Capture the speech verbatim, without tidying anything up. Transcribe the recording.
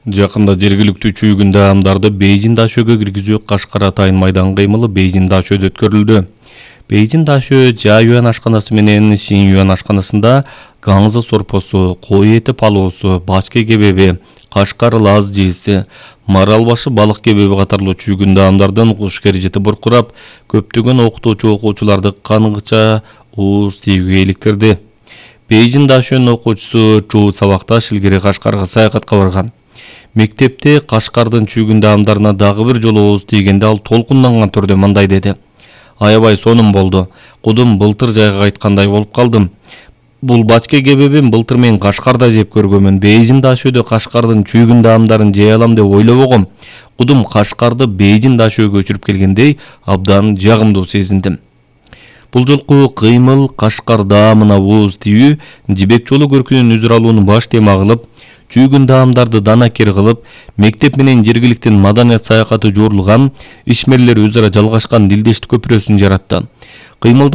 Жакында жергиликтүү чүйгүн даамдарды Бейжин Дашөөгө киргизүү Кашкар атайын майдан кыймылы Бейжин Дашөөдө өткөрүлдү. Бейжин Дашөө Жа-Юан ашканасы менен Син-Юан ашканасында гаңза сорпосу, кой эти палоосу, бачка кебеби, Кашкар Лаз жээси, марал башы балык кебеби катарлуу чүйгүн даамдардын куш кережети буркурап, көптөгөн окутуучу окуучуларды кангыча ууз тийүүгө иликтирди. Бейжин Дашөөнүн окуучусу Чуу Сабакташ илгери Кашкарга саякатка барган. Мектепте Кашкардын чүйгүн даамдарына дагы бир жолу ооз тийгенде ал толкунданган түрдө мындай деди: "Аябай сонун болду. Кудум былтыр жайга кайткандай болуп калдым. Бул бачка кебебин былтыр мен Кашкарда жеп көргөнмүн. Бейжин Дашөөдө Кашкардын чүйгүн даамдарын жей алам деп ойлобогом. Кудум Кашкарды Бейжин Дашөөгө көчүрүп келгендей абдан жагымдуу сезиндим." Бул жолку кыймыл Кашкар даамына ооз тийүү Жибек жолу көркүнүн үзүр алууну баш тема кылып, чүйгүн даамдарды данакер кылып, мектеп менен жергиликтин маданият саякаты жуурулган, ишмерлер өзара жалгашкан дилдештик көпүрөсүн жаратты. Кыймылда